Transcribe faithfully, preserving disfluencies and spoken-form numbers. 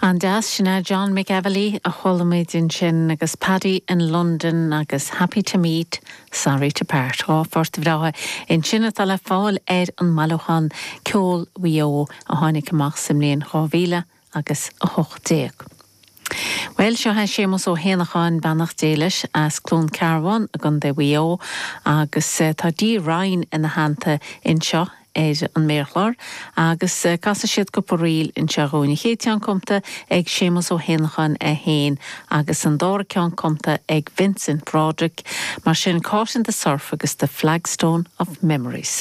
An-deas sin é John McEvilly a chuala muid ansin agus Paddy in London agus Happy to Meet, Sorry to Part dhá phort bhreátha ansin atá le fáil ar an mbailiúchán Ceol Mhaigh Eo a tháinig amach sa mbliain dhá mhíle agus a hocht déag. Well seo é Séamus Ó hÉanacháin beannacht Dé leis as Cluain Cearbán i gContae Mhaigh Eo agus eh, tá Dee Ryan ina theannta anseo ar an méarchlár agus eh, casfaidh siad cúpla ríl anseo dúinn. An chéad cheann cumtha ag Séamus Ó hÉanacháin é féin agus an dara ceann cumtha ag Vincent Broderick, mar sin Caught in the Surf agus the Flagstone of Memories.